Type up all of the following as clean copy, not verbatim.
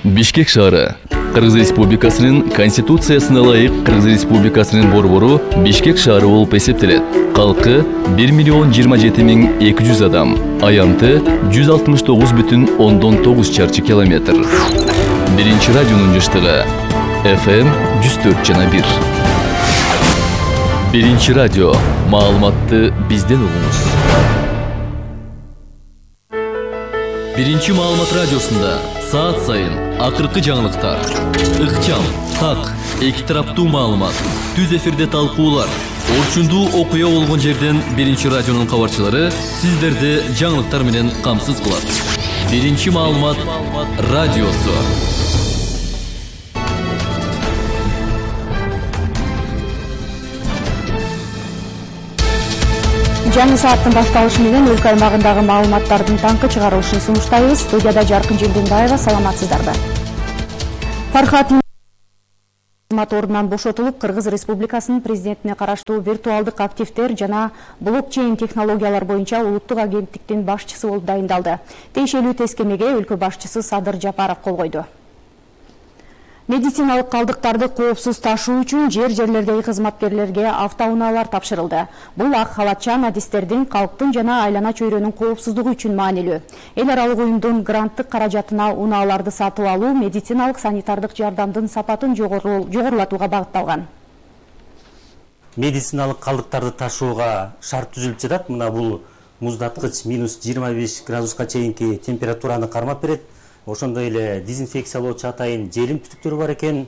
Бишкек шаары. Кыргыз Республикасынын Конституциясына ылайык Кыргыз Республикасынын борбору Бишкек шаары болуп эсептелет. Калкы 1,027,200 адам. Аянты 169,9 чарчы километр. Биринчи радионун жыштыгы FM 104,1. Биринчи радио. Маалыматты бизден угуңуз. Биринчи маалымат радиосунда саат сайын акыркы жаңылыктар, ыкчам, так, эки тараптуу маалымат, түз эфирде талкуулар, орчундуу окуя болгон жерден Биринчи радионун кабарчылары сиздерди жаңылыктар менен камсыз кылат. Биринчи маалымат радиосу. Жаңы сааттын башталышы менен өлкө аймагындагы маалыматтардын таңкы чыгарылышын сунуштайбыз. Студияда Жаркын Желденбаева, саламатсыздарбы. Фархат кызмат ордунан бошотулуп, Кыргыз Республикасынын президентине караштуу виртуалдык активдер жана блокчейн технологиялар боюнча улуттук агенттиктин башчысы болуп дайындалды. Тиешелүү тескемеге өлкө башчысы Садыр Жапаров кол койду. Медициналык калдыктарды коопсуз ташуу үчүн жерлердеги кызматкерлерге автоунаалар тапшырылды. Бул ак халатчан адистердин калктын жана айлана чөйрөнүн коопсуздугу үчүн маанилүү. Эл аралык уюмдун гранттык каражатына унааларды сатып алуу медициналык санитардык жардамдын сапатын жогорулатууга багытталган. Медициналык калдыктарды ташууга шарт түзүлүп жатат. Мына бул муздаткыч -25 градуска чейинки температураны кармап берет. Ошондой эле дезинфекциялоочу атайын желим түтүктөр бар экен.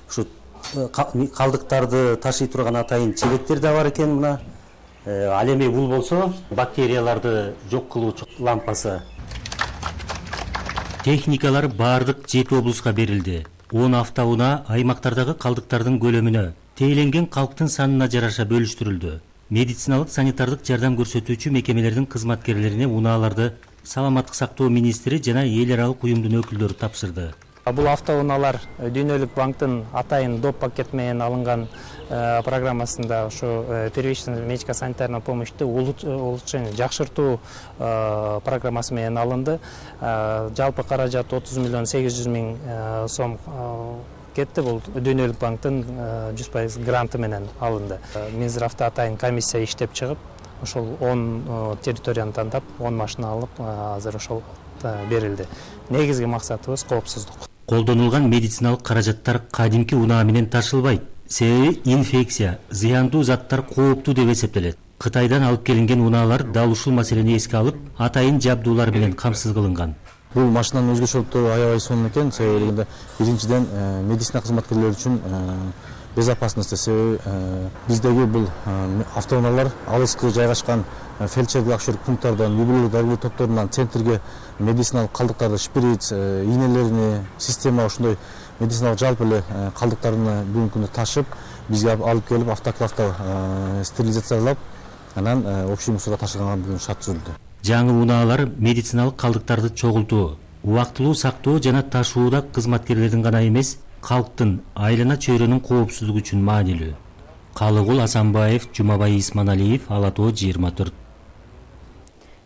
Ушу калдыктарды ташый турган атайын чебектер да бар экен. Мына ал эми бул болсо бактерияларды жок кылуучу лампасы. Техникалар бардык 7 облуска берилди. 10 автоунаа аймактардагы калдыктардын көлөмүнө, тээленген калктын санына жараша бөлүштүрүлдү. Медициналык санитардык жардам көрсөтүүчү мекемелердин кызматкерлерине унааларды Саламаттык сактоо министри жана эл аралык уюмдун өкүлдөрү тапшырды. Бул автоунаалар Дүйнөлүк банктын атайын доп пакет менен алынган программасында ошо первичный медико-санитарный помощьту улучшение жакшыртуу программасы менен алынды. Жалпы каражат 30,800,000 сом кетти. Бул Дүйнөлүк банктын 100% гранты менен алынды. Минздравда атайын комиссия иштеп чыгып, ошол 10 территорияны тандап, 10 машина алып, азыр ошол берилди. Негизги максатыбыз коопсуздук. Колдонулган медициналык каражаттар кадимки унаа менен ташылбайт. Себеби инфекция, зыяндуу заттар кооптуу деп эсептелет. Кытайдан алып келинген унаалар дал ушул маселени эске алып, атайын жабдуулар менен камсыз кылынган. Бул машинанын өзгөчөлүктөрү аябай сонун экен. Себеби биринчиден медицина кызматкерлери үчүн безопасности. Себеби биздеги бул автоунаалар алыскы жайгашкан фельдшерлик акушерлик пункттардан, юбилей дарылоо топторунан центрге медициналык калдыктарды, шприц, ийнелерини, система ошондой медициналык жалпы эле калдыктарын бүгүнкү күндө ташып, бизге алып келип автоклавда стерилизациялап, анан общий мусорго ташыганга бүгүн шарт түзүлдү. Жаңы унаалар медициналык калдыктарды чогултуу, убактылуу сактоо жана ташууда кызматкерлердин гана эмес, калктын айлана чөйрөнүн коопсуздугу үчүн маанилүү. Калыгул Асанбаев, Жумабай Исманалиев, Ала Тоо 24.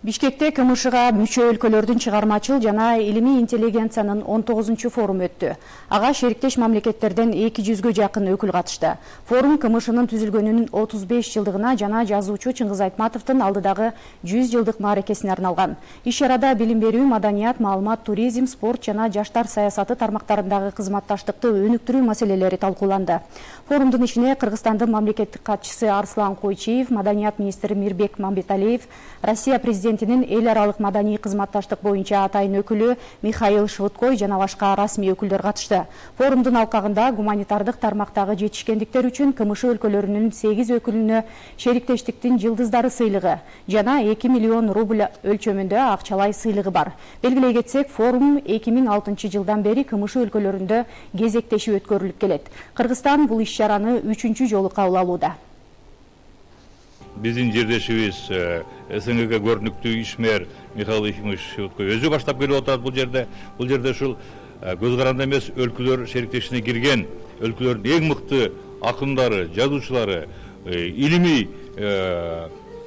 Бишкекте КМШга мүчө өлкөлөрдүн чыгармачыл жана илимий интеллигенциянын 19 форуму өттү. Ага шериктеш мамлекеттерден 200-гө жакын өкүл катышты. Форум КМШнын түзүлгөнүнүн 35 жылдыгына жана жазуучу Чыңгыз Айтматовдун алдыдагы 100 жылдык мааракесине арналган. Иш-чарада билим берүү, маданият, маалымат, туризм, спорт жана жаштар саясаты тармактарындагы кызматташтыкты өнүктүрүү маселелери талкууланды. Форумдун ичине Кыргызстандын мамлекеттик катчысы Арслан Койчиев, маданият министри Мирбек Мамбеталиев, Россия президентинин эл аралык маданий кызматташтык боюнча атайын өкүлү Михаил Швыдкой жана башка расмий өкүлдөр катышты. Форумдун алкагында гуманитардык тармактагы жетишкендиктер үчүн КМШ өлкөлөрүнүн 8 өкүлүнө шериктештиктин жылдыздары сыйлыгы жана 2 миллион рубль өлчөмүндө акчалай сыйлыгы бар. Белгилей кетсек, форум 2006 жылдан бери КМШ өлкөлөрүндө кезектешип өткөрүлүп келет. Кыргызстан бул иш-чараны 3-чү жолу кабыл алууда. Биздин жердешибиз СНГ көрүнүктүү ишмер Михаил Ефимович Швыдкой өзү баштап келип атат бул жерде. Бул жерде ушул көз каранды эмес өлкөлөр шериктешине кирген өлкөлөрдүн эң мыкты акындары, жазуучулары, илимий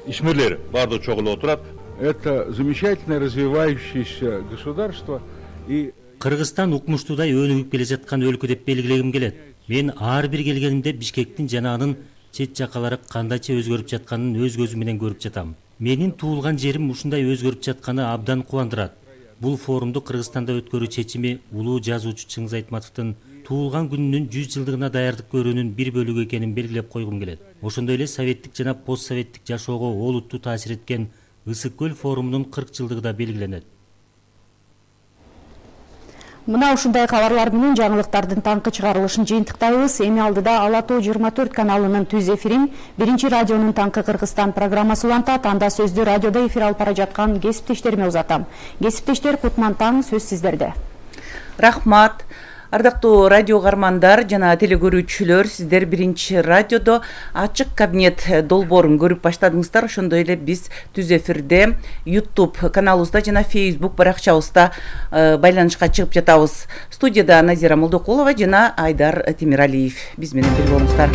ишмерлер баардыгы чогулуп отурат. Это замечательное развивающееся государство и Кыргызстан укмуштуудай өнүгүп келе жаткан өлкө деп белгилегим келет. Мен ар бир келгенимде Бишкектин жана анын чет жакалары кандайча өзгөрүп жатканын өз көзүм менен көрүп жатам. Менин туулган жерим ушундай өзгөрүп жатканы абдан кубандырат. Бул форумду Кыргызстанда өткөрүү чечими улуу жазуучу Чыңгыз Айтматовдун туулган күнүнүн 100 жылдыгына даярдык көрүүнүн бир бөлүгү экенин белгилеп койгум келет. Ошондой эле советтик жана постсоветтик жашоого олуттуу таасир эткен Ысык көл форумунун 40 жылдыгы да белгиленет. Мына ушундай кабарлар менен жаңылыктардын таңкы чыгарылышын жыйынтыктайбыз. Эми алдыда Ала Тоо 24 каналынын түз эфирин биринчи радионун Таңкы Кыргызстан программасы улантат. Анда сөздү радиодо эфир алып бара жаткан кесиптештериме узатам. Кесиптештер, кутман таң, сөз сиздерде. Рахмат. Ардактуу радио кармандар жана телекөрүүчүлөр, сиздер биринчи радиодо ачык кабинет долбоорун көрүп баштадыңыздар. Ошондой эле биз түз эфирде YouTube каналыбызда жана Facebook баракчабызда байланышка чыгып жатабыз. Студияда Назира Молдокулова жана Айдар Темиралиев. Биз менен бирге болуңуздар.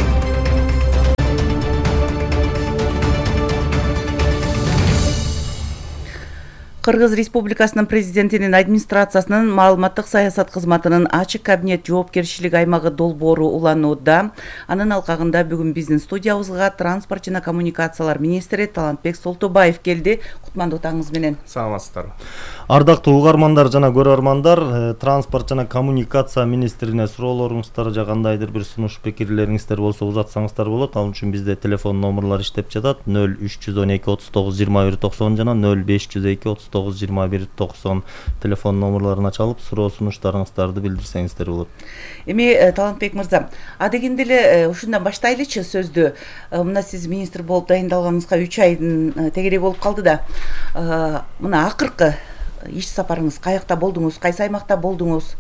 Кыргыз Республикасынын президентинин администрациясынын маалыматтык саясат кызматынын ачык кабинет жоопкерчилик аймагы долбоору уланууда. Анын алкагында бүгүн биздин студиябызга транспорт жана коммуникациялар министри Талантбек Солтубаев келди. Кутмандуу таңыңыз менен. Саламатсыздарбы. Ардактуу угармандар жана көрөрмандар, транспорт жана коммуникация министрине суроолоруңуздар же кандайдыр бир сунуш пикирлериңиздер болсо узатсаңыздар болот. Ал үчүн бизде телефон номерлор иштеп жатат: 0312 39 21 90 жана 0502 39 21 90 телефон номерлоруна чалып суроо сунуштарыңыздарды билдирсеңиздер болот. Эми Талантбек мырза, адегенде эле ушундан баштайлычы сөздү. Мына сиз министр болуп дайындалганыңызга 3 айдын тегерек болуп калды да. Мына акыркы иш сапарыңыз каякта болдуңуз, кайсы аймакта болдуңуз,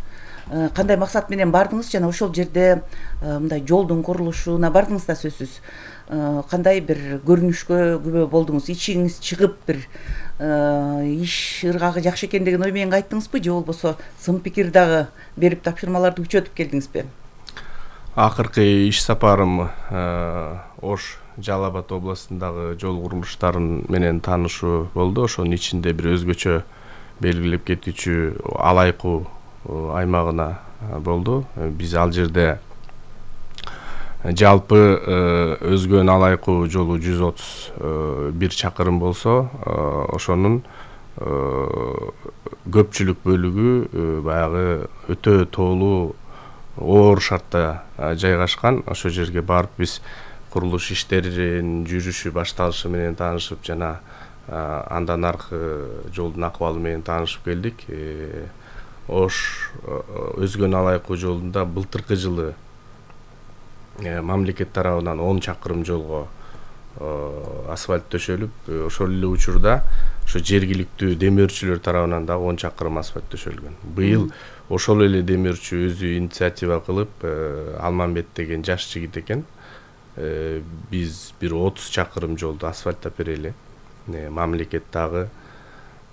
кандай максат менен бардыңыз жана ошол жерде мындай жолдун курулушуна бардыңыз да сөзсүз. Кандай бир көрүнүшкө күбө болдуңуз, ичиңиз чыгып бир иш ыргагы жакшы экен деген ой менен кайттыңызбы же болбосо сын пикир дагы берип тапшырмаларды күчөтүп келдиңизби? Акыркы иш сапарым Ош Жалал Абад областындагы жол курулуштарын менен таанышуу болду. Ошонун ичинде бир өзгөчө белгилеп кетүүчү Алайкуу аймагына болду. Биз ал жерде жалпы өзгөн Алайкуу жолу 131 чакырым болсо, ошонун көпчүлүк бөлүгү баягы өтө тоолуу оор шартта жайгашкан. Ошол жерге барып биз курулуш иштеринин жүрүшү башталышы менен таанышып жана андан аркы жолдун акыбалы менен таанышып келдик. Ош өзгөн Алайкуу жолунда былтыркы жылы мамлекет тарабынан 10 чакырым жолго асфальт төшөлүп, ошол эле учурда ошо жергиликтүү демөөрчүлөр тарабынан дагы 10 чакырым асфальт төшөлгөн. Быйыл ошол эле демөөрчү өзү инициатива кылып, Алмамбет деген жаш жигит экен, биз бир 30 чакырым жолду асфальттап берели. Мамлекет дагы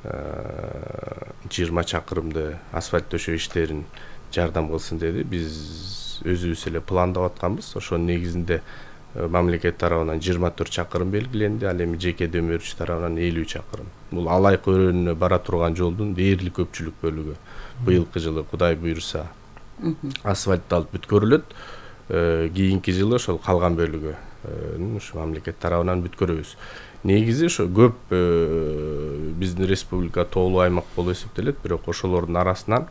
20 чакырымды асфальт төшөө иштерин жардам кылсын деди. Биз өзүбүз эле пландап атканбыз. Ошонун негизинде мамлекет тарабынан 24 чакырым белгиленди, ал эми жеке демөөрчү тарабынан 50 чакырым. Бул Алайкуу өрөөнүнө бара турган жолдун дээрлик көпчүлүк бөлүгү быйылкы жылы Кудай буйруса асфальтталып бүткөрүлөт. Кийинки жылы ошол калган бөлүгү ушу мамлекет тарабынан бүткөрөбүз. Негизи ошо көп биздин республика тоолуу аймак болуп эсептелет, бирок ошолордун арасынан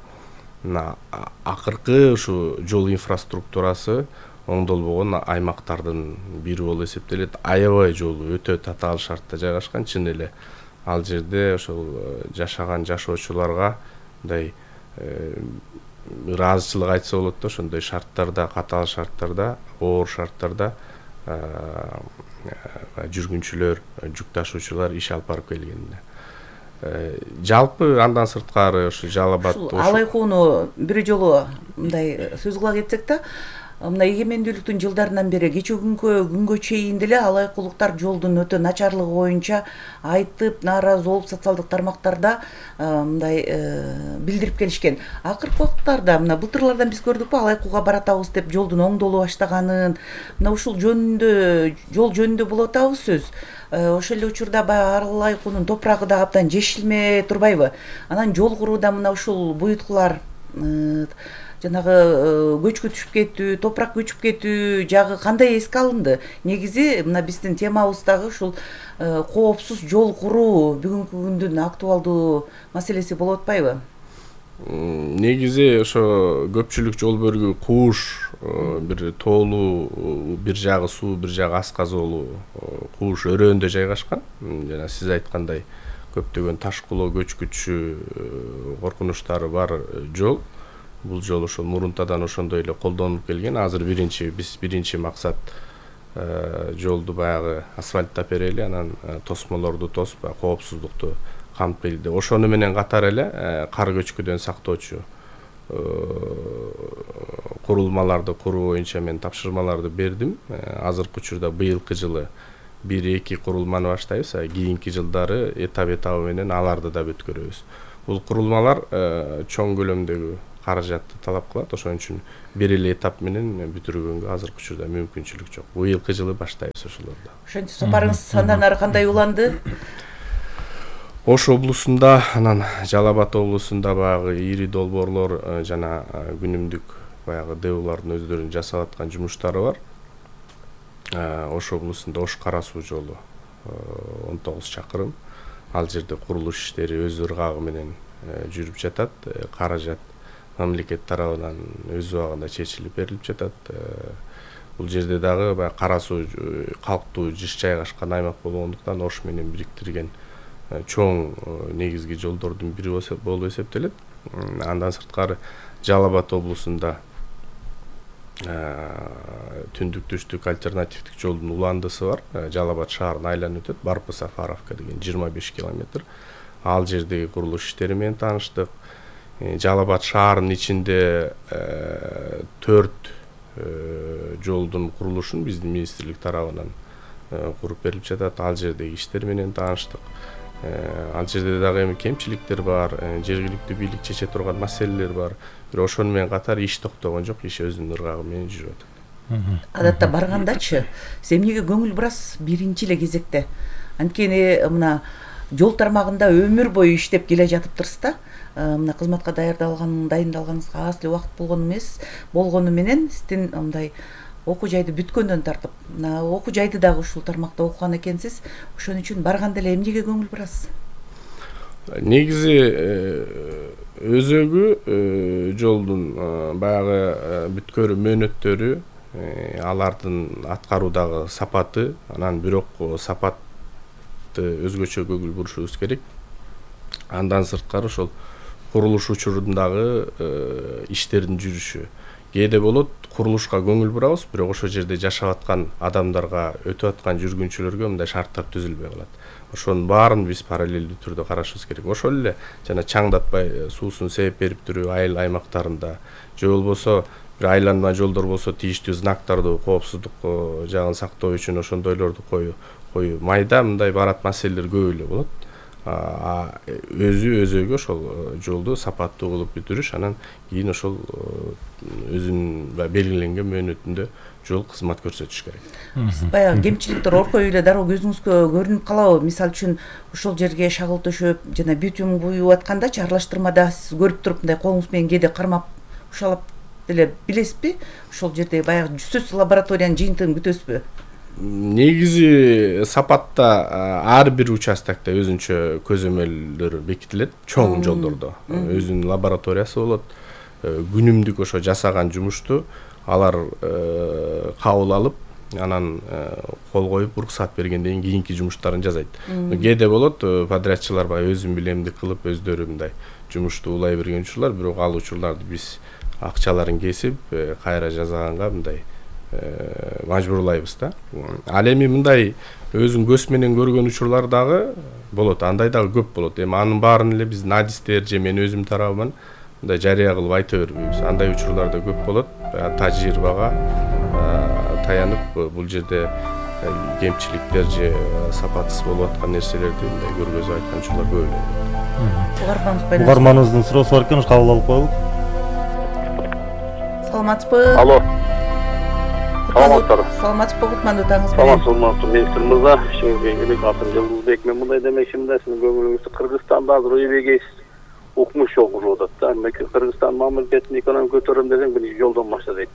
акыркы ушу жол инфраструктурасы оңдолбогон аймактардын бири болуп эсептелет. Аябай жолу өтө татаал шартта жайгашкан. Чын эле ал жерде ошол жашаган жашоочуларга мындай ыраазычылык айтса болот да, ошондой шарттарда, катаал шарттарда, оор шарттарда жүргүнчүлөр, жүк ташуучулар иш алып барып келгенде. Жалпы андан сырткары ушу Жалал Абад Алайкууну бир жолу мындай сөз кыла кетсек да, мына эгемендүүлүктүн жылдарынан бери кечээ күнгө чейин деле алайкуулуктар жолдун өтө начарлыгы боюнча айтып, нааразы болуп социалдык тармактарда мындай билдирип келишкен. Акыркы убакыттарда мына былтырлардан биз көрдүкпү, Алайкууга баратабыз деп жолдун оңдоло баштаганын. Мына ушул жөнүндө, жол жөнүндө болуп атабыз сөз. Ошол эле учурда баягы Алайкуунун топурагы да абдан жешилме турбайбы? Анан жол курууда мына ушул буйруткулар жанагы көчкү түшүп кетүү, топурак көчүп кетүү жагы кандай эске алынды? Негизи мына биздин темабыз дагы ушул коопсуз жол куруу бүгүнкү күндүн актуалдуу маселеси болуп атпайбы? Негизи ошо көпчүлүк жол бөлүгү кууш, бир тоолуу, бир жагы суу, бир жагы аз казоолуу кууш өрөөндө жайгашкан. Жана сиз айткандай көптөгөн ташкулоо, көчкүчү коркунучтары бар жол. Бул жол ошол мурунтадан ошондой эле колдонулуп келген. Азыр биринчи максат жолду баягы асфальттап берели, анан тосмолорду тосуп, коопсуздукту камтып. Ошону менен катар эле кар көчкүдөн сактоочу курулмаларды куруу боюнча мен тапшырмаларды бердим. Азыркы учурда быйылкы жылы 1-2 курулманы баштайбыз, кийинки жылдары этап менен аларды да бүткөрөбүз. Бул курулмалар чоң көлөмдөгү каражатты талап кылат, ошон үчүн бир эле этап менен бүтүргөнгө азыркы учурда мүмкүнчүлүк жок. Быйылкы жылы баштайбыз ошолорду. Ошентип сапарыңыз андан ары кандай уланды? Ош облусунда, анан Жалал-Абад облусунда баягы ири долбоорлор жана күнүмдүк баягы ДУлардын өздөрүнүн жасап аткан жумуштары бар. Ош облусунда Ош Кара суу жолу 19 чакырым. Ал жерде курулуш иштери өз ыргагы менен жүрүп жатат. Каражат мамлекет тарабынан өз убагында чечилип берилип жатат. Бул жерде дагы баягы кара суу калктуу жыш жайгашкан аймак болгондуктан Ош менен бириктирген чоң негизги жолдордун бири болуп эсептелет. Андан сырткары Жалал-Абад облусунда түндүк түштүк альтернативдик жолдун уландысы бар. Жалал-Абад шаарын айланып өтөт. Барпы-Сафаровка деген 25 километр. Ал жердеги курулуш иштери менен тааныштык. Жалал-Абад шаарынын ичинде 4 жолдун курулушун биздин министрлик тарабынан куруп берилип жатат. Ал жердеги иштер менен тааныштык. Ал жерде дагы эми кемчиликтер бар, жергиликтүү бийлик чече турган маселелер бар. Бирок ошону менен катар иш токтогон жок, иш өзүнүн ыргагы менен жүрүп атат. Адатта баргандачы, сиз эмнеге көңүл бурасыз биринчи эле кезекте? Анткени мына жол тармагында өмүр бою иштеп келе жатыптырсыз да. Мына кызматка дайындалганыңызга аз эле убакыт болгону менен сиздин мындай окуу жайды бүткөндөн тартып, мына окуу жайды дагы ушул тармакта окуган экенсиз. Ошон үчүн барганда эле эмнеге көңүл бурасыз? Негизи өзөгү жолдун баягы бүткөрүү мөөнөттөрү, алардын аткаруудагы сапаты, анан бирок сапатты өзгөчө көңүл бурушубуз керек. Андан сырткары ошол курулуш учурундагы иштердин жүрүшү. Кээде болот курулушка көңүл бурабыз, бирок ошол жерде жашап аткан адамдарга, өтүп аткан жүргүнчүлөргө мындай шарттар түзүлбөй калат. Ошонун баарын биз параллелдүү түрдө карашыбыз керек. Ошол эле жана чаңдатпай суусун себеп берип туруп айыл аймактарында же болбосо бир айланма жолдор болсо тийиштүү знактарды коопсуздук жагын сактоо үчүн ошондойлорду коюу майда мындай барат маселелер көп эле болот. Өзүгө ошол жолду сапаттуу кылып бүтүрүш, анан кийин ошол өзүнүн белгиленген мөөнөтүндө жол кызмат көрсөтүш керек. Баягы кемчиликтер оркой эле дароо көзүңүзгө көрүнүп калабы? Мисалы үчүн ошол жерге шагыл төшөп жана битум куюп аткандачы аралаштырмада сиз көрүп туруп мындай колуңуз менен кээде кармап ушалап деле билесизби? Ошол жерде баягы сөзсүз лабораториянын жыйынтыгын күтөсүзбү? Негизи сапатта ар бир участокто өзүнчө көзөмөлдөр бекитилет, чоң жолдордо өзүнүн лабораториясы болот. Күнүмдүк ошо жасаган жумушту алар кабыл алып, анан кол коюп уруксат бергенден кийинки жумуштарын жасайт. Кээде болот подрядчылар баягы өзүм билемдик кылып өздөрү мындай жумушту улай берген учурлар, бирок ал учурларды биз акчаларын кесип кайра жасаганга мындай мажбурлайбыз да. Ал эми мындай өзүң көз менен көргөн учурлар дагы болот, андай дагы көп болот. Эми анын баарын эле биздин адистер же мен өзүм тарабынан мындай жарыя кылып айта бербейбиз. Андай учурлар да көп болот. Тажрыйбага таянып бул жерде кемчиликтер же сапатсыз болуп аткан нерселерди мындай көргөзүп айткан учурлар көп эле. Угарманыбыздын суроосу бар экен, кабыл алып коелу. Саламатсызбы? Алло. Саламатсызбы? Саламатсызбы, кутмандуу таңыңыз менен. Саламатсызбы, министр мырза. Шеңбек элек атым Жылдызбек. Мен мындай демекчимин да, сиздин көңүлүңүздү Кыргызстанда азыр үй бегейсиз. укмуш жол курулуп атат да. Кыргызстан мамлекетинин экономика көтөрөм десең биринчи жолдон башла дейт.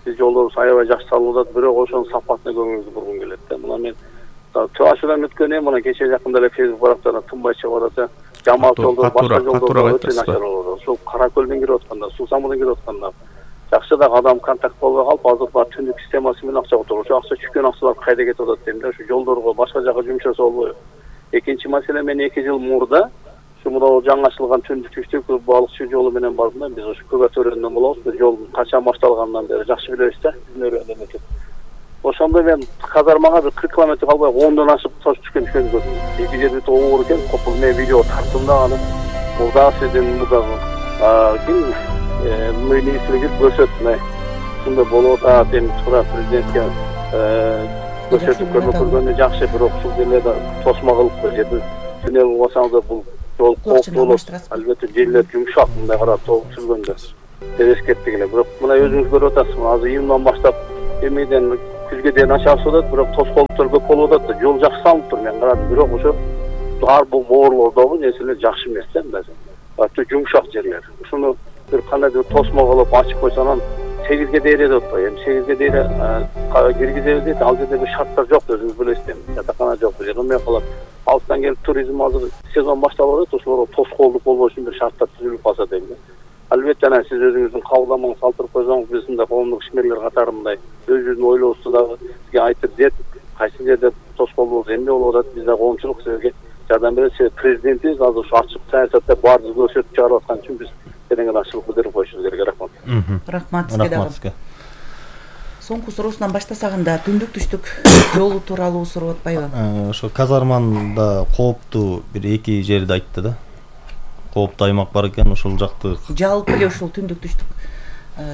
Биз жолдорубуз аябай жакшы салынып атат, бирок ошонун сапатына көңүлүбүздү бургум келет да. Мына мен Чувашиядан өткөн мына кече жакында эле Facebook барактарына тынбай чыгып атат. Жамаат жолдор, башка жолдор өтө начар болуп атат. Ошол Кара көлдөн кирип атканда, Суу самырдан кирип атканда жакшы дагы адам контакт болбой калып, азыр бар түндүк системасы менен акча отуруп. Ошо акча чүккөн акчалар кайда кетип атат дейм да. Ошо жолдорго башка жака жумшаса болбойбу? Экинчи маселе, мен 2 жыл мурда ушул жаңы ачылган түндүк балыкчы жолу менен бардым да. Биз ошо Көга төрөндөн болобуз. Бир жол качан башталгандан бери жакшы билебиз да. Биздин ошондо мен казармага бир 40 километр калбай 10дон ашып түшкөн көрдүм. 2 жерде оор экен, копул мен видео тарттым да аны. Мурда сиздин мурдагы ким министрлиги көрсөттүм. Ушундай болуп атат, эми туура президентке көрсөтүп көргөндө жакшы, бирок ушул жерлерде тосмо кылып жерди түнөп болсаңыз бул жол кооптуу болот. Албетте жерлер жумшак, мындай карап топ сүргөндө. Эскерттик эле. Бирок мына өзүңүз көрүп атасыз, азыр июндан баштап эмеден күзгө дейин ачабыз атат, бирок тоскоолдуктар көп болуп атат да. Жол жакшы салынып тур, мен карадым, бирок ошо ар бул боорлордогу нерселер жакшы эмес да, мындай. Аты жумшак жерлер. Ушуну бир кандайдыр тосмо кылып ачып койсо анан 8ге дейре деп атпайбы. Эми 8ге дейре киргизебиз дейт. Ал жерде бир шарттар жок, өзүңүз билесиз. Жатакана жок, бул жерде эмне кылат? Алыстан келип туризм азыр сезон башталып атат, ошолорго тоскоолдук болбош үчүн бир шарттар түзүлүп калса дейм да. Албетте анан сиз өзүңүздүн кабылдамаңызды калтырып койсоңуз, биз мындай коомдук ишмерлер катары мындай өзүбүздүн ойлообузду дагы сизге айтып дет, кайсы жерде тоскоолдук эмне болуп атат, биз да коомчулук сизге жардам беребиз. Сиз президентибиз азыр ушу ачык саясатта баарды көрсөтүп чыгарып аткан үчүн биз тереңден ачылып билдирип коюшубуз керек. Рахмат. Рахмат сизге дагы. Соңку суроосунан баштасак анда түндүк түштүк жолу тууралуу сурап атпайбы? Ошо казарманда кооптуу бир 2 жерди айтты да. Кооптуу аймак бар экен, ошол жакты. Жалпы эле ушул түндүк түштүк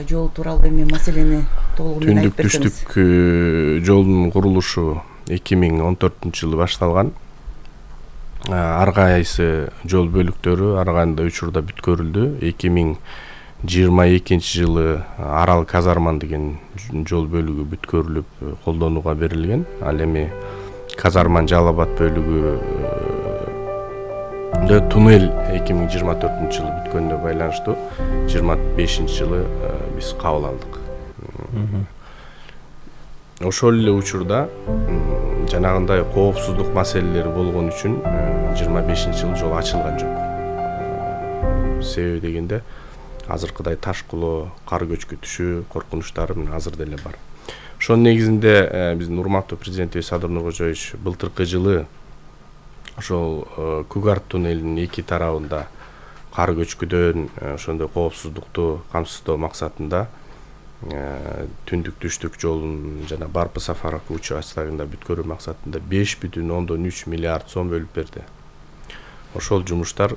жол тууралуу эми маселени толугу менен айтып берсеңиз. Түндүк түштүк жолдун курулушу 2014-жылы башталган. Ар кайсы жол бөлүктөрү ар кандай учурда бүткөрүлдү. 2022-жылы Арал Казарман деген жол бөлүгү бүткөрүлүп колдонууга берилген. Ал эми Казарман Жалал-Абад бөлүгү туннель 2024-жылы бүткөнүнө байланыштуу 25-жылы биз кабыл алдык. Ошол эле учурда жанагындай коопсуздук маселелери болгон үчүн 25-жылы жол ачылган жок. Себеби дегенде азыркыдай ташкылоо, кар көчкү түшүү коркунучтары менен азыр деле бар. Ошонун негизинде биздин урматтуу президентибиз Садыр Нуркожоевич былтыркы жылы ошол Кугар туннелинин 2 тарабында кар көчкүдөн ошондой коопсуздукту камсыздоо максатында түндүк түштүк жолун жана Барпы Сафаров участогунда бүткөрүү максатында 5,3 миллиард сом бөлүп берди. Ошол жумуштар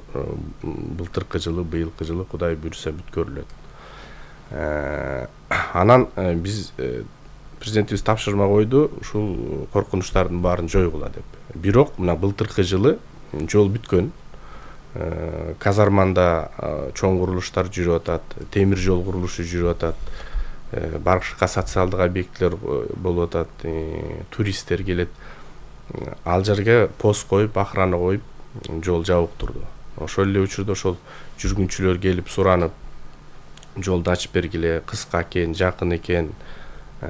былтыркы жылы, быйылкы жылы Кудай буйруса бүткөрүлөт. Анан биз президентибиз тапшырма койду, ушул коркунучтардын баарын жойгула деп. Бирок мына былтыркы жылы жол бүткөн. Казарманда чоң курулуштар жүрүп атат, темир жол курулушу жүрүп атат. Башка социалдык объектилер болуп атат, туристтер келет. Ал жерге пост коюп, охрана коюп, жол жабык турду. Ошол эле учурда ошол жүргүнчүлөр келип суранып, жолду ачып бергиле, кыска экен, жакын экен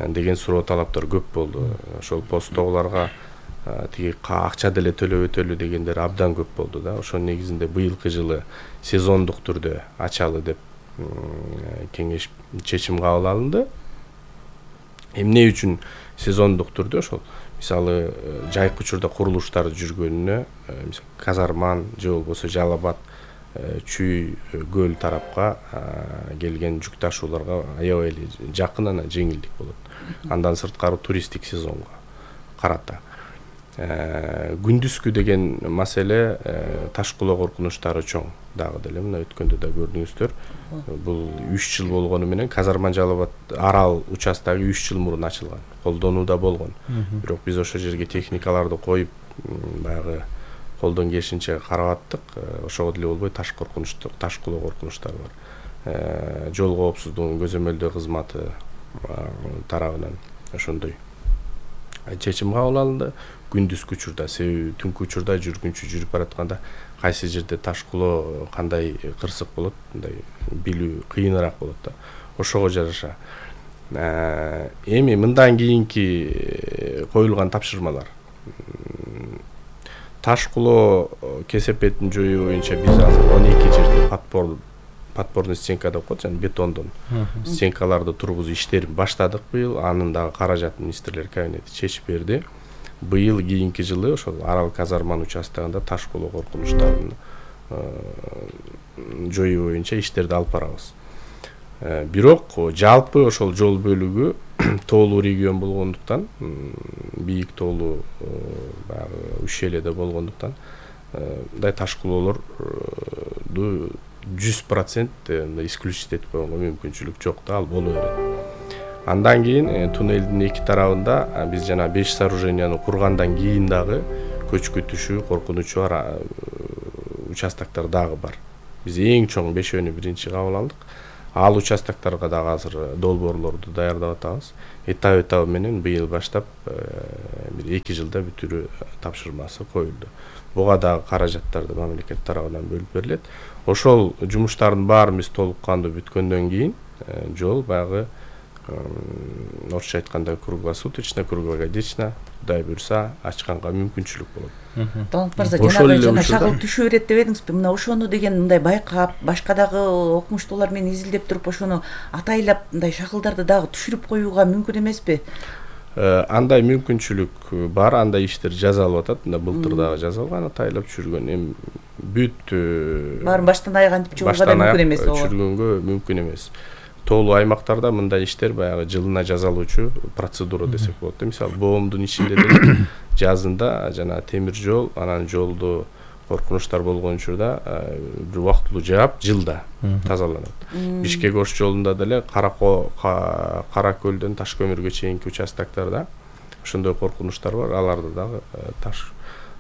деген суроо талаптар көп болду. Ошол посттогуларга тиги акча деле төлөп өтөлү дегендер абдан көп болду да. Ошонун негизинде быйылкы жылы сезондук түрдө ачалы деп кеңеш чечим кабыл алынды. Эмне үчүн сезондук түрдө ошол мисалы жайкы учурда курулуштар жүргөнүнө, Казарман же болбосо Жалал-Абад, Чүй, Көл тарапка келген жүк ташууларга аябай эле жакын, анан жеңилдик болот. Андан сырткары туристтик сезонго карата. Күндүзгү деген маселе ташкылоо коркунучтары чоң. Дагы деле мына өткөндө да көрдүңүздөр. Бул 3 жыл болгону менен Казарман Жалал-Абад Арал участогу 3 жыл мурун ачылган. Колдонууда болгон. Бирок биз ошол жерге техникаларды коюп, баягы колдон келишинче карап аттык. Ошого деле болбой ташкылоо коркунучтары бар. Жол коопсуздугун көзөмөлдөө кызматы тарабынан ошондой чечим кабыл алынды. Күндүзкү учурда, себеби түнкү учурда жүргүнчү жүрүп баратканда кайсы жерде таш кулоо кандай кырсык болот, мындай билүү кыйыныраак болот да. Ошого жараша эми мындан кийинки коюлган тапшырмалар. Таш кулоо кесепетин жоюу боюнча биз азыр 12 жерде подпорный стенка деп коет, жана бетондон стенкаларды тургузуу иштерин баштадык быйыл. Анын дагы каражатын министрлер кабинети чечип берди. Быйыл кийинки жылы ошол Арал казарманын участогунда таш кулоо коркунучтарын жоюу боюнча иштерди алып барабыз. Бирок жалпы ошол жол бөлүгү тоолуу регион болгондуктан, бийик тоолуу баягы ущельеде болгондуктан мындай таш кулоолорду 100% исключить этип койгонго мүмкүнчүлүк жок да, ал боло берет. Андан кийин туннелдин эки тарабында биз жана 5 сооруженияны кургандан кийин дагы көчкү түшүү коркунучу участоктор дагы бар. Биз эң чоң 5-өнү биринчи кабыл алдык. Ал участокторго дагы азыр долбоорлорду даярдап атабыз. Этап менен быйыл баштап бир 2 жылда бүтүрүү тапшырмасы коюлду. Буга дагы каражаттарды мамлекет тарабынан бөлүп берилет. Ошол жумуштардын баарын биз толук кандуу бүткөндөн кийин жол баягы орусча айтканда круглосуточно, круглогодично, Кудай буйрса ачканга мүмкүнчүлүк болот. Талант мырза, жана шагыл түшүп берет деп едиңизби? Мына ошону деген мындай байкап, башка дагы окумуштуулар менен изилдеп туруп ошону атайлап мындай шагылдарды дагы түшүрүп коюуга мүмкүн эмеспи? Андай мүмкүнчүлүк бар, андай иштер жасалып атат. Мына былтыр дагы жасалган, атайлап түшүргөн. Эми бүт баарын баштан аяк антип чыгууга да мүмкүн эмес. Түшүргөнгө мүмкүн эмес. Тоолуу аймактарда мындай иштер баягы жылына жасалуучу процедура десек болот. Мисалы, боомдун ичинде деле жазында жана темир жол, анан жолду коркунучтар болгон учурда бир убактылуу жаап, жылда тазаланат. Бишкек-Ош жолунда деле Каракөлдөн Ташкөмүргө чейинки участокторда ошондой коркунучтар бар. Аларды дагы таш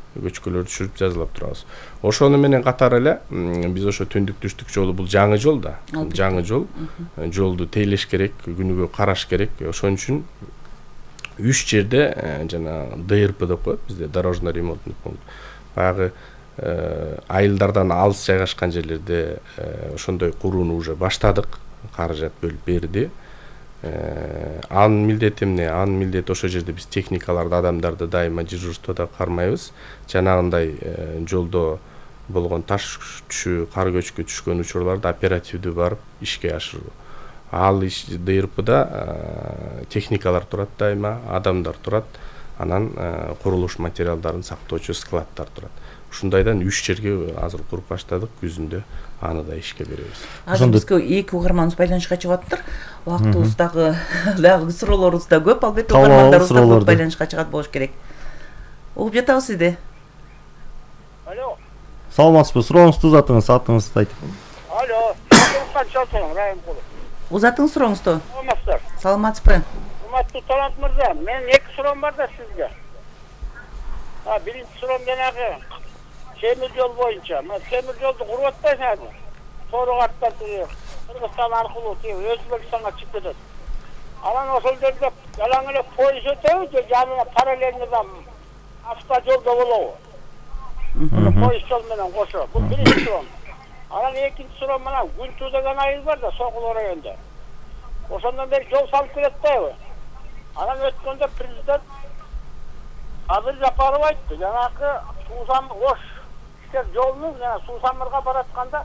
көчкөлөрдү түшүрүп жазалап турабыз. Ошону менен катар эле биз ошо түндүк-түштүк жолу бул жаңы жол да. Жаңы жол. Жолду тейлеш керек, күнүгө караш керек. Ошон үчүн 3 жерде жана ДРП деп коет бизде, дорожно ремонтный пункт. Баягы айылдардан алыс жайгашкан жерлерде ошондой курууну уже баштадык. Каражат бөлүп берди. Анын милдети эмне? Анын милдети ошол жерде биз техникаларды, адамдарды дайыма дежурствода кармайбыз. Жанагындай жолдо болгон таш түшүү, кар көчкү түшкөн учурларды оперативдүү барып ишке ашыруу. Ал ДРПда техникалар турат дайыма, адамдар турат, анан курулуш материалдарын сактоочу складдар турат. Ушундайдан 3 жерге азыр куруп баштадык, күзүндө аны да ишке беребиз. Азыр бизге 2 угарманыбыз байланышка чыгып атыптыр. Убактыбыз дагы суроолорубуз да көп, албетте угармандарыбыз да көп байланышка чыгат болуш керек. Угуп жатабыз сизди. Алло. Саламатсызбы? Сурооңузду узатыңыз, атыңызды айтып. Алло. Кантчалсың, Райымкулов. Узатыңыз сурооңузду. Саламатсыздар. Саламатсызбы? Урматтуу Талант мырза, менин 2 суроом бар да сизге. Биринчи суроом жанагы темир жол боюнча. Мына темир жолду куруп атпайсыңарбы? Соорук арттан Кыргызстан аркылуу Өзбекстанга чыгып кетет. Анан ошол жерде жалаң эле поезд өтөбү же жанына параллельно автожолдо болобу? Поезд жол менен кошо. Бул биринчи суроом. Анан экинчи суроом мына Күнтүү деген айыл бар да, Сокул районунда. Ошондон бери жол салып берет дайбы? Анан өткөндө президент Адыл Жапаров айтты, жанагы Суусамыр-Ош жолунун Суусамырга баратканда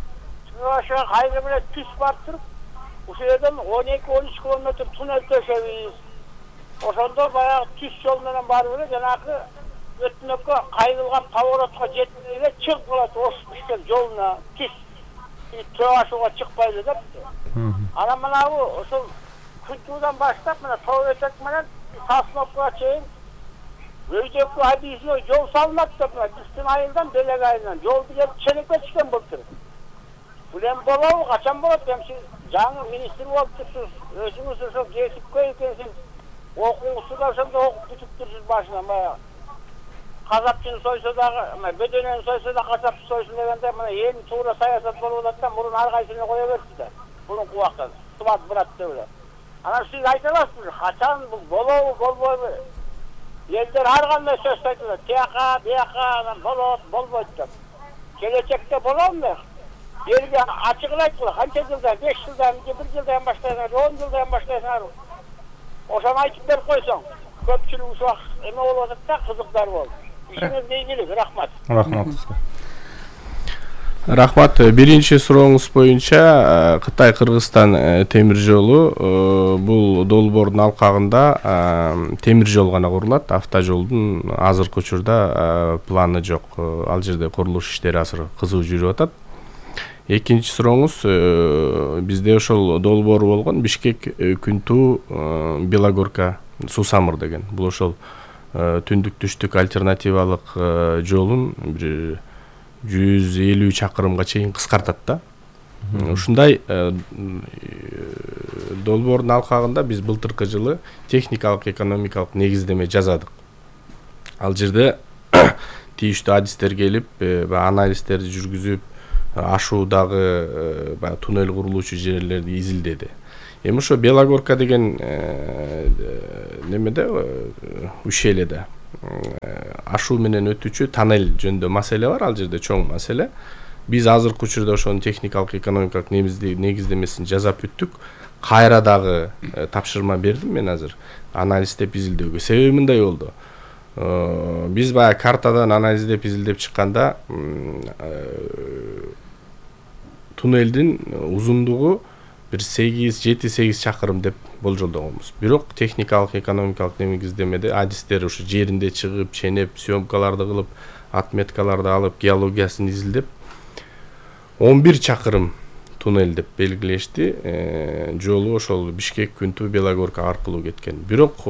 чыгышка кайры менен түз барып туруп, ошол жерден 12-13 километр туннель төшөбүз. Ошондо баягы түз жол менен барып эле жанагы өтмөккө кайрылган поворотко жетпей эле чыгып калат Ош-Бишкек жолуна түз. Чыгашууга чыкпайлы деп. Анан мынабу ошол Күнтүүдан баштап мына Тоо Этек менен Сосновкага чейин өйдөккө объездной жол салынат деп биздин айылдан Белек айылынан жолду келип ченекке түшкөн болуптур. Бул эми болобу, качан болот? Эми сиз жаңы министр болуп турсуз, өзүңүз ошо кесипкө экенсиз, окуңузду да ошондо окуп бүтүп турсуз башынан баягы. Казапчыны сойсо дагы, бөдөнөнү сойсо да казапчы сойсун дегенде мына эми туура саясат болуп атат да, мурун ар кайсыны кое берди да. Мурунку убакта сыбат брат деп эле. Анан сиз айта аласызбы, качан бул болобу, болбойбу? Элдер ар кандай сөз айтылат. Тияка, бияка, анан болот, болбойт деп. Келечекте боломбу? Элге ачыгын айткыла, канча жылдан, 5 жылдан, 1 жылдан баштайсыңар, 10 жылдан баштайсыңар. Ошону айтып берип койсоң, көпчүлүк ушак эме болуп атат да, кызыктар болуп. Ишиңизге ийгилик, рахмат. Рахмат. Рахмат. Биринчи сурооңуз боюнча Кытай Кыргызстан темир жолу бул долбоордун алкагында темир жол гана курулат, автожолдун азыркы учурда планы жок. Ал жерде курулуш иштери азыр кызуу жүрүп атат. Экинчи сурооңуз, бизде ошол долбоор болгон Бишкек Күнтүү Белогорка суу самыр деген. Бул ошол түндүк түштүк альтернативалык жолун бир 150 чакырымга чейин кыскартат да. Ушундай долбоордун алкагында биз былтыркы жылы техникалык экономикалык негиздеме жазадык. Ал жерде тийиштүү адистер келип, анализдерди жүргүзүп, ашуудагы туннель курулуучу жерлерди изилдеди. Эми ошо Белогорка деген немеде ущельеде ашуу менен өтүүчү тоннель жөнүндө маселе бар, ал жерде чоң маселе. Биз азыркы учурда ошонун техникалык экономикалык негиздемесин жасап бүттүк. Кайра дагы тапшырма бердим мен азыр анализдеп изилдөөгө. Себеби мындай болду. Биз баягы картадан анализдеп изилдеп чыкканда туннелдин узундугу бир 7-8 чакырым деп болжолдогонбуз. Бирок техникалык экономикалык негиздемеде адистер ушу жеринде чыгып, ченеп, съемкаларды кылып, отметкаларды алып, геологиясын изилдеп 11 чакырым туннель деп белгилешти. Жолу ошол Бишкек Күнтүү Белогорка аркылуу кеткен. Бирок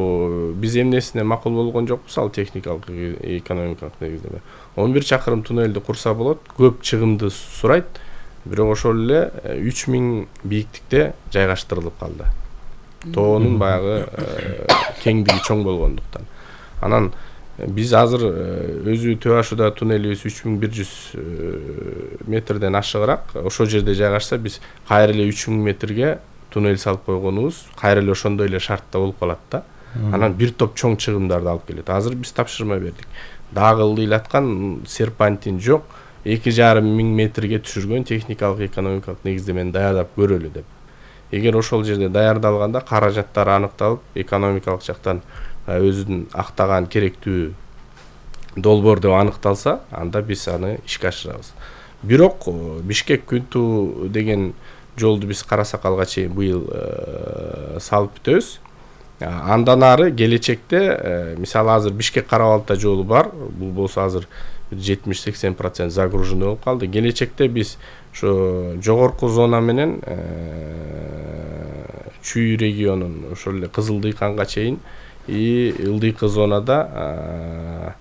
биз эмнесине макул болгон жокпуз, ал техникалык экономикалык негиздеме. 11 чакырым туннелди курса болот, көп чыгымды сурайт. Бирок ошол эле 3000 бийиктикте жайгаштырылып калды. Тоонун баягы кеңдиги чоң болгондуктан. Анан биз азыр өзү Төө Ашуда туннелибиз 3100 метрден ашыгыраак. Ошол жерде жайгашса биз кайра эле 3000 метрге туннель салып койгонубуз кайра эле ошондой эле шартта болуп калат да. Анан бир топ чоң чыгымдарды алып келет. Азыр биз тапшырма бердик. Дагы ылдыйлаткан серпантин жок. 2,5 метрге түшүргөн техникалык экономикалык негиздемени даярдап көрөлү деп. Эгер ошол жерде даярдалганда каражаттар аныкталып, экономикалык жактан өзүнүн актаган керектүү долбоор деп аныкталса, анда биз аны ишке ашырабыз. Бирок Бишкек Күнтүү деген жолду биз Кара Сакалга чейин быйыл салып бүтөбүз. Андан ары келечекте, мисалы азыр Бишкек Карабалта жолу бар, бул болсо азыр 70-80% загруженный болуп калды. Келечекте биз ошо жогорку зона менен Чүй регионун ошол эле Кызылдыйканга чейин ылдыйкы зонада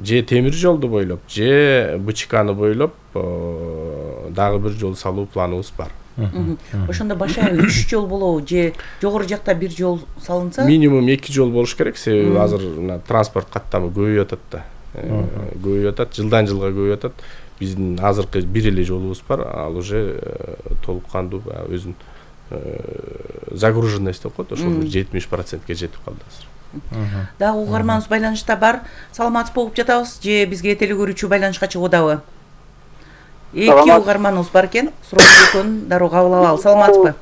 же темир жолду бойлоп, же Бычканы бойлоп дагы бир жол салуу планыбыз бар. Ошондо башка 3 жол болобу же жогору жакта бир жол салынса? Минимум 2 жол болуш керек, себеби азыр транспорт каттамы көбөйүп атат да. Көбөйүп атат, жылдан жылга көбөйүп атат. Биздин азыркы бир эле жолубуз бар, ал уже толук кандуу өзүнүн загруженность деп коет, ошол 70%ге жетип калды азыр. Дагы угарманыбыз байланышта бар. Саламатсыз болуп жатабыз же бизге телекөрүүчү байланышка чыгып атабы? Эки угарманыбыз бар экен, суроо экөөнүн дароо кабыл алалы. Саламатсызбы?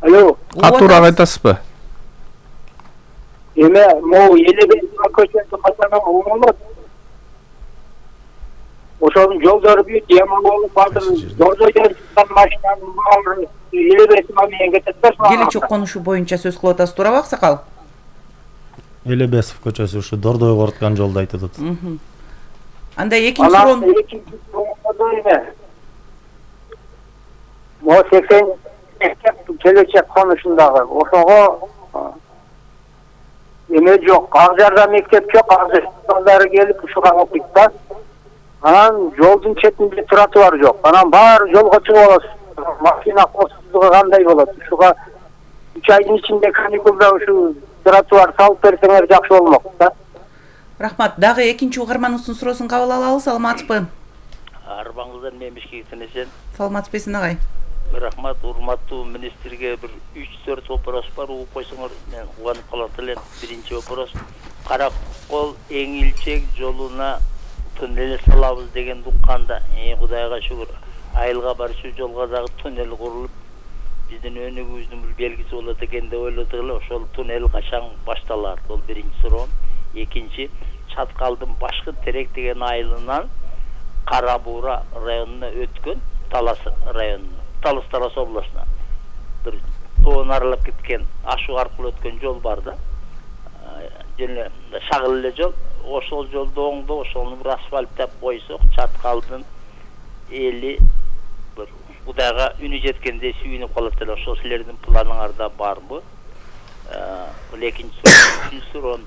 Алло. Катуураак айтасызбы? Эме могу Элебей көчөсү катана оңолот. Ошонун жолдору бүт яман болуп баатыр. Жолдойдон чыккан машинанын баары Элебей менен кетет да. Келечек конушу боюнча сөз кылып атасыз, туурабы Аксакал? Элебесов көчөсү ушу Дордойго ороткан жолду айтып атат. Анда экинчи суроо Мо 80 келечек конушундагы ошого эме жок, ак жарда мектеп жок, азыр келип ушуга окуйт да. Анан жолдун четинде тротуар жок. Анан баары жолго чыгып аласыз. Машина коопсуздугу кандай болот? Ушуга 3 айдын ичинде каникулда ушу тротуар салып берсеңер жакшы болмок да. Рахмат. Дагы экинчи угарманыбыздын суроосун кабыл алалы. Саламатсызбы? Арбаңыздан мен Бишкектен эсен. Саламатсызбы агай? Рахмат, урматтуу министрге бир 3-4 вопрос бар, угуп койсоңор мен кубанып калат элем. Биринчи вопрос: Каракол Эңилчек жолуна туннель салабыз деген укканда, Кудайга шүгүр, айылга барчу жолго дагы туннель курулуп, биздин өнүгүүбүздүн бир белгиси болот экен деп ойлодук эле. Ошол туннель качан башталар? Бул биринчи суроом. Экинчи, Чаткалдын башкы Терек деген айылынан Кара Буура районуна өткөн, Талас районуна, Талас областына бир тоон аралап кеткен, ашуу аркылуу өткөн жол бар да. Жана шагыл эле жол. Ошол жолду оңдоп, ошону бир асфальттап койсок, Чаткалдын эли бир Кудайга үнү жеткендей сүйүнүп калат эле. Ошол силердин планыңарда барбы? Бул экинчи суроо. Үчүнчү суроо: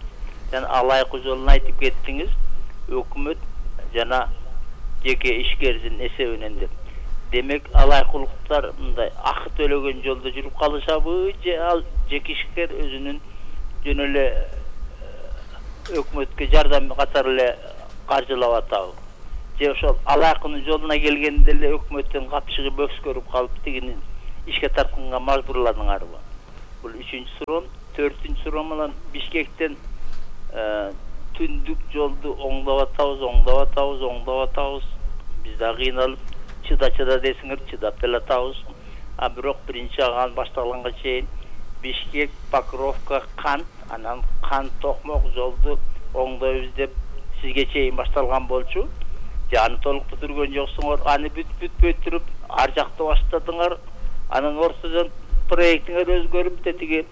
Жана Алайкы жолун айтып кеттиңиз, өкмөт жана жеке ишкердин эсебинен деп. Демек, алайкылыктар мындай акы төлөгөн жолдо жүрүп калышабы, же ал жеке ишкер өзүнүн жөн эле өкмөткө жардам катары эле каржылап атабы? Же ошол алайкынын жолуна келгенде эле өкмөттүн капчыгы бөкскөрүп калып, тигини ишке тартканга мажбурладыңарбы? Бул үчүнчү суроо. Төртүнчү суроо менен Бишкектен түндүк жолду оңдоп атабыз. Биз да кыйналып чыда десиңер, чыдап деле атабыз. Бирок биринчи аган башталганга чейин Бишкек, Покровка, Кант, анан Кант Токмок жолду оңдойбуз деп сизге чейин башталган болчу. Же аны толук бүтүргөн жоксуңор, аны бүтпөй туруп ар жакта баштадыңар. Анын ортодон проектиңер өзгөрүп тетиги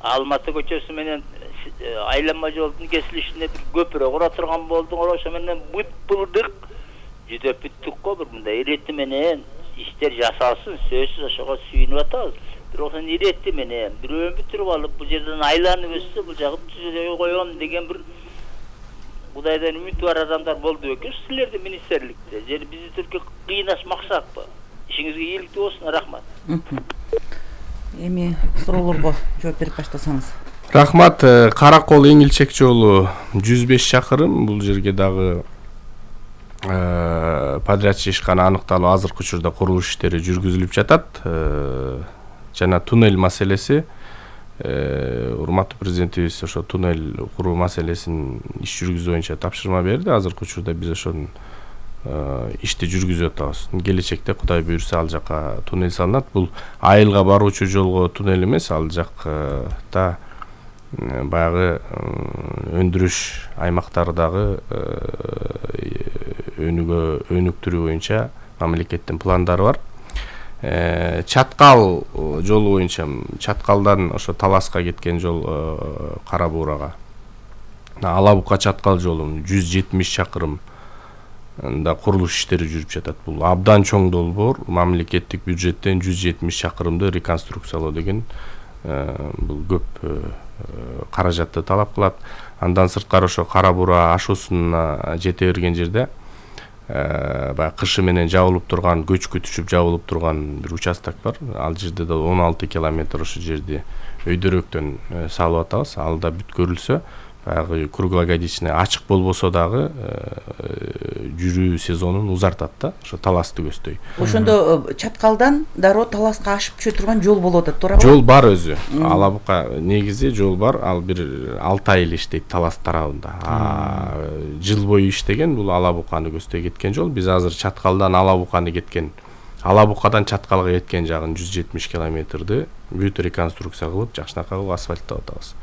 Алматы көчөсү менен айланма жолдун кесилишине бир көпүрө кура турган болдуңор. Ошо менен бүт булдык жүдөп бүттүк го. Бир мындай ирети менен иштер жасалсын, сөзсүз ошого сүйүнүп атабыз. Бирок ошон ирети менен бирөөнү бүтүрүп алып, бул жерден айланып өссө, бул жагын түзөй коем деген бир Кудайдан үмүтү бар адамдар болду бекен силердин министрликте. Же бизди түркү кыйнашмаксакпы? Ишиңизге ийгиликтүү болсун. Рахмат. Эми суроолорго жооп берип баштасаңыз. Рахмат. Каракол Эңилчек жолу 105 чакырым. Бул жерге дагы подрядчы ишкана аныкталып, азыркы учурда курулуш иштери жүргүзүлүп жатат. Жана туннель маселеси, урматтуу президентибиз ошо туннель куруу маселесин иш жүргүзүү боюнча тапшырма берди. Азыркы учурда биз ошонун ишти жүргүзүп атабыз. Келечекте Кудай буйрса ал жака туннель салынат. Бул айылга баруучу жолго туннель эмес, ал жакта баягы өндүрүш аймактардагы өнүктүрүү боюнча мамлекеттин пландары бар. Чаткал жолу боюнча Чаткалдан ошо Таласка кеткен жол Кара Буурага. Алабука Чаткал жолу 170 чакырым да курулуш иштери жүрүп жатат. Бул абдан чоң долбоор. Мамлекеттик бюджеттен 170 чакырымды реконструкциялоо деген бул көп каражатты талап кылат. Андан сырткары ошо Кара Буура ашуусуна жете берген жерде баягы кышы менен жабылып турган, көчкү түшүп жабылып турган бир участок бар. Ал жерде да 16 километр ошо жерди өйдөрөктөн салып атабыз. Ал да бүткөрүлсө, баягы круглогодичный ачык болбосо дагы жүрүү сезонун узартат да, ошо Таласты көздөй. Ошондо Чаткалдан дароо Таласка ашып түшө турган жол болуп атат, туура? Жол бар өзү. Алабука негизи жол бар. Ал бир 6 ай эле иштейт Талас тарабында. Жыл бою иштеген, бул Алабуканы көздөй кеткен жол. Биз азыр Чаткалдан Алабуканы кеткен, Алабукадан Чаткалга кеткен жагын 170 километрди бүт реконструкция кылып, жакшынакай кылып асфальттап атабыз.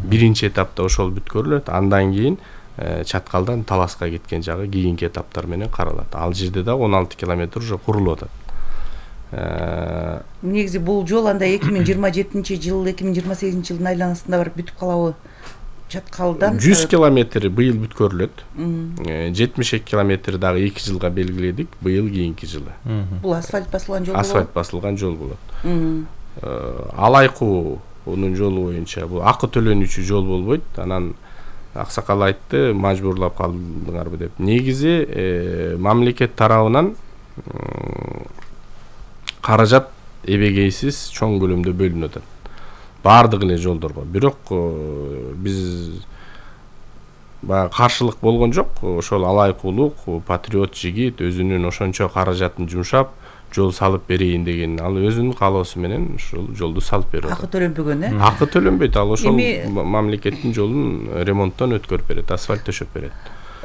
Биринчи этапта ошол бүткөрүлөт. Андан кийин Чаткалдан Таласка кеткен жагы кийинки этаптар менен каралат. Ал жерде да 16 километр уже курулуп атат. Негизи бул жол анда 2027-жыл, 2028-жылдын айланасында барып бүтүп калабы? Чаткалдан 100 километри быйыл бүткөрүлөт. 72 километр дагы 2 жылга белгиледик, быйыл кийинки жылы. Бул асфальт басылган жол болот. Асфальт басылган жол болот. Алайкунун жолу боюнча бул акы төлөнүүчү жол болбойт. Анан аксакал айтты, мажбурлап калдыңарбы деп. Негизи мамлекет тарабынан каражат эбегейсиз чоң көлөмдө бөлүнүп атат. Бардык эле жолдорго. Бирок биз баягы каршылык болгон жок. Ошол алайкулук, патриот жигит өзүнүн ошончо каражатын жумшап, жол салып берейин деген, ал өзүнүн каалоосу менен ушул жолду салып берип атат. Акы төлөнбөгөн, Акы төлөнбөйт, ал ошол мамлекеттин жолун ремонттон өткөрүп берет, асфальт төшөп берет.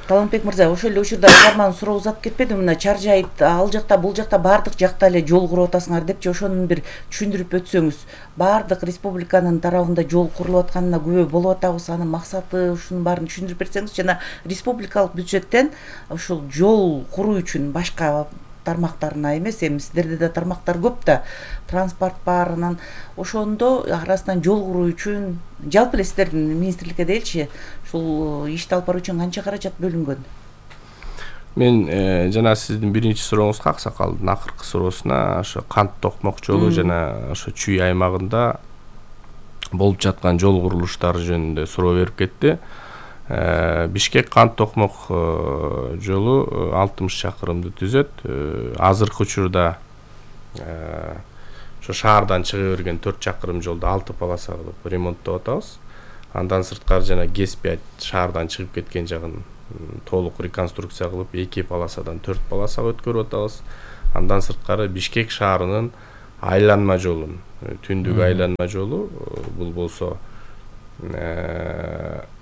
Талантбек мырза, ошол эле учурда угарман суроо узап кетпеди, мына Чаржайыт ал жакта бул жакта баардык жакта эле жол куруп атасыңар депчи, ошону бир түшүндүрүп өтсөңүз. Баардык республиканын тарабында жол курулуп атканына күбө болуп атабыз, анын максаты, ушунун баарын түшүндүрүп берсеңиз, жана республикалык бюджеттен ушул жол куруу үчүн башка тармактарына эмес, эми сиздерде да тармактар көп да, транспорт бар, анан ошондо арасынан жол куруу үчүн жалпы эле сиздердин министрликке делчи ушул ишти алып баруу үчүн канча каражат бөлүнгөн? Мен жана сиздин биринчи сурооңузга, аксакалдын акыркы суроосуна ошо Кант Токмок жолу жана ошо Чүй аймагында болуп жаткан жол курулуштары жөнүндө суроо берип кетти. Бишкек Кант Токмок жолу 60 чакырымды түзөт. Азыркы учурда ошо шаардан чыга берген 4 чакырым жолду 6 полоса кылып ремонттоп атабыз. Андан сырткары жана Г5 шаардан чыгып кеткен жагын толук реконструкция кылып 2 полосадан 4 полосага өткөрүп атабыз. Андан сырткары Бишкек шаарынын айланма жолун, түндүк айланма жолу, бул болсо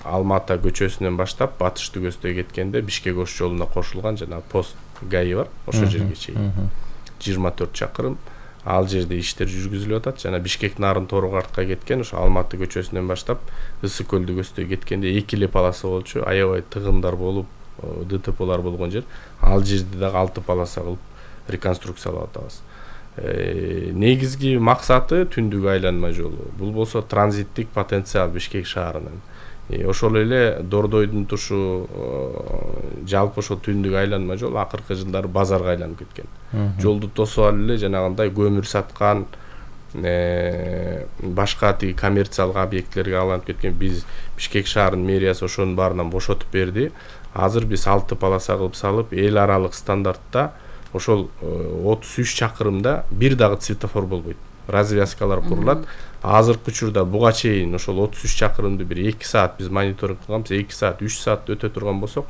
Алмата көчөсүнөн баштап батыш түгөстө кеткенде Бишкек Ош жолуна кошулган жана пост ГАИ бар, ошол жерге чейин 24 чакырым ал жерде иштер жүргүзүлүп атат. Жана Бишкек нарын Торгартка кеткен ошо Алматы көчөсүнөн баштап Ысык көл түгөстө кеткенде 2 эле полоса болчу, аябай тыгындар болуп, ДТПлар болгон жер. Ал жерде дагы 6 полоса кылып реконструкциялап атабыз. Негизги максаты түндүк айланма жолу. Бул болсо транзиттик потенциал Бишкек шаарынын. Ошол эле Дордойдун тушу жалпы ошол түндүк айланма жол акыркы жылдары базарга айланып кеткен. Жолду тосуп алып эле жанагындай көмүр саткан, башка тиги коммерциялык объектилерге айланып кеткен. Биз Бишкек шаарынын мэриясы ошонун баарынан бошотуп берди. Азыр биз 6 полоса кылып салып, эл аралык стандартта ошол 33 чакырымда бир дагы светофор болбойт. Развязкалар курулат. Азыркы учурда буга чейин ошол 33 чакырымды бир 2 саат биз мониторинг кылганбыз, 2 саат, 3 саат өтө турган болсок,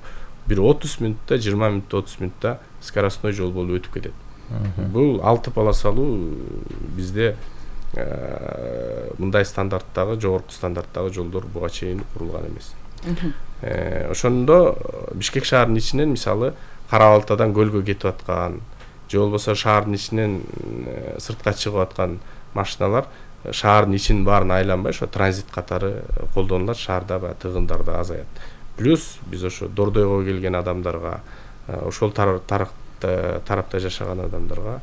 бир 30 минутта, 20 минутта, 30 минутта скоростной жол болуп өтүп кетет. Бул 6 полосалуу бизде мындай стандарттагы, жогорку стандарттагы жолдор буга чейин курулган эмес. Ошондо Бишкек шаарынын ичинен мисалы Кара Балтадан көлгө кетип аткан, же болбосо шаардын ичинен сыртка чыгып аткан машиналар шаардын ичин баарын айланбай ошо транзит катары колдонулат, шаарда тыгындар да азаят. Плюс биз ошо Дордойго келген адамдарга, ошол тарапта жашаган адамдарга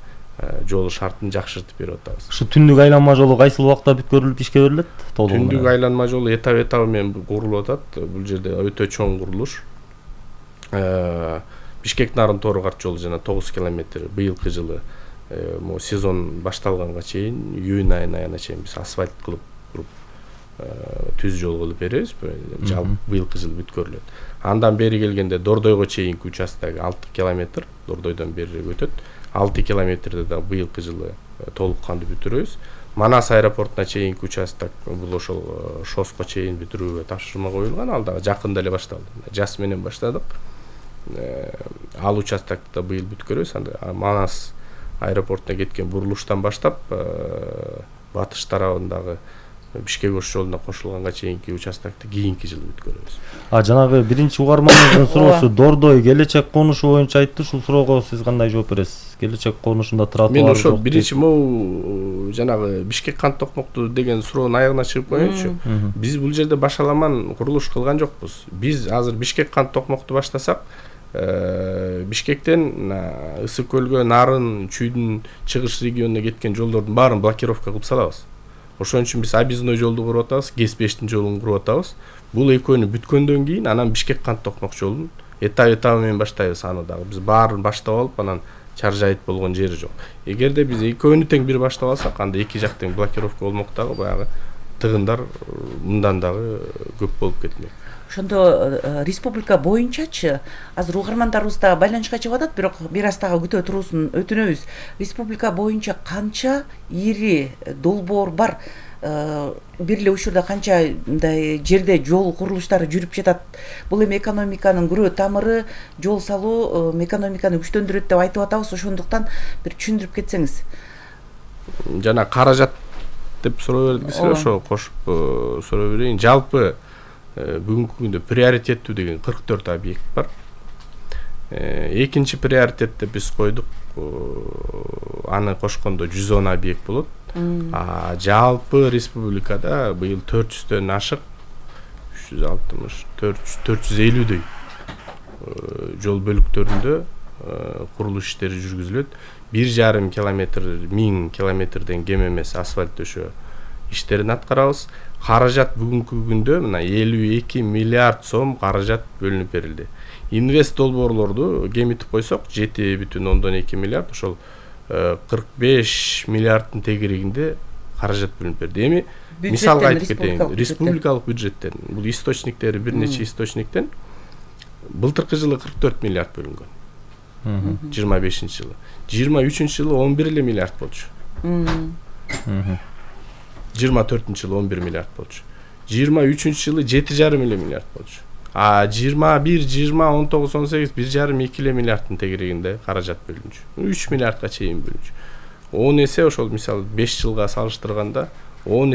жол шартын жакшыртып берип атабыз. Ушу түндүк айланма жолу кайсыл убакта бүткөрүлүп ишке берилет? Түндүк айланма жолу этап менен курулуп атат. Бул жерде өтө чоң курулуш. Бишкек нарын Торгарт жолу жана 9 километр быйылкы жылы сезон башталганга чейин, июнь айына чейин биз асфальт кылып түз жол кылып беребиз. Жалпы быйылкы жылы бүткөрүлөт. Андан бери келгенде Дордойго чейинки участтагы 6 километр, Дордойдон берирээк өтөт. 6 километрде да быйылкы жылы толук кандуу бүтүрөбүз. Манас аэропортуна чейинки участок бул ошол ШОСко чейин бүтүрүүгө тапшырма коюлган. Ал дагы жакында эле башталды. Жаз менен баштадык. Ал участокты да быйыл бүткөрөбүз. Анда Манас аэропортуна кеткен бурулуштан баштап батыш тарабындагы Бишкек Ош жолуна кошулганга чейинки участокты кийинки жылы бүткөрөбүз. Жанагы биринчи угармандын суроосу Дордой келечек конушу боюнча айтты. Ушул суроого сиз кандай жооп бересиз? Келечек конушунда тротуар мен ошо биринчи могу жанагы Бишкек Кант Токмокту деген суроонун аягына чыгып коеюнчу. Биз бул жерде башаламан курулуш кылган жокпуз. Биз азыр Бишкек Кант Токмокту баштасак, Бишкектен Ысык көлгө, Нарын, Чүйдүн чыгыш регионуна кеткен жолдордун баарын блокировка кылып салабыз. Ошон үчүн биз объездной жолду куруп атабыз, Г5 жолун куруп атабыз. Бул экөөнү бүткөндөн кийин анан Бишкек Кант Токмок жолун этап менен баштайбыз. Аны дагы биз баарын баштап алып, анан Чаржайыт болгон жери жок. Эгерде биз экөөнү тең бир баштап алсак, анда эки жак тең блокировка болмок дагы, баягы тыгындар мындан дагы көп болуп кетмек. Ошондо республика боюнчачы азыр угармандарыбыз да байланышка чыгып атат, бирок бир аз дагы күтө туруусун өтүнөбүз. Республика боюнча канча ири долбоор бар? бир эле учурда канча мындай жерде жол курулуштары жүрүп жатат. Бул эми экономиканын күрөө тамыры, жол салуу экономиканы күчтөндүрөт деп айтып атабыз. Ошондуктан бир түшүндүрүп кетсеңиз. Жана каражат деп суроо бердиңиз, ошо кошуп суроо берейин. Жалпы бүгүнкү күндө приоритеттүү деген 44 объект бар. Экинчи приоритет деп биз койдук. Аны кошкондо 110 объект болот. Жалпы республикада быйыл 400дөн ашык 360 450дөй жол бөлүктөрүндө курулуш иштери жүргүзүлөт. 1,5 километр 1000 километрден кем эмес асфальт төшөө иштерин аткарабыз. Каражат бүгүнкү күндө мына 52 миллиард сом каражат бөлүнүп берилди. Инвест долбоорлорду кемитип койсок 7,2 миллиард, ошол 45 миллиарддын тегерегинде каражат бөлүнүп берди. Эми мисалга айтып кетейин, республикалык бюджеттен, бул источниктери бир нече источниктен былтыркы жылы 44 миллиард бөлүнгөн. 25-жылы. 23-жылы 11 миллиард болчу. 24-жылы 11 миллиард болчу. 23-жылы 7,5 миллиард болчу. 21, 20, 19, 18, 1,5-2 миллиарддын тегерегинде каражат бөлүнчү. 3 миллиардка чейин бөлүнчү. 10 эсе ошол мисалы 5 жылга салыштырганда 10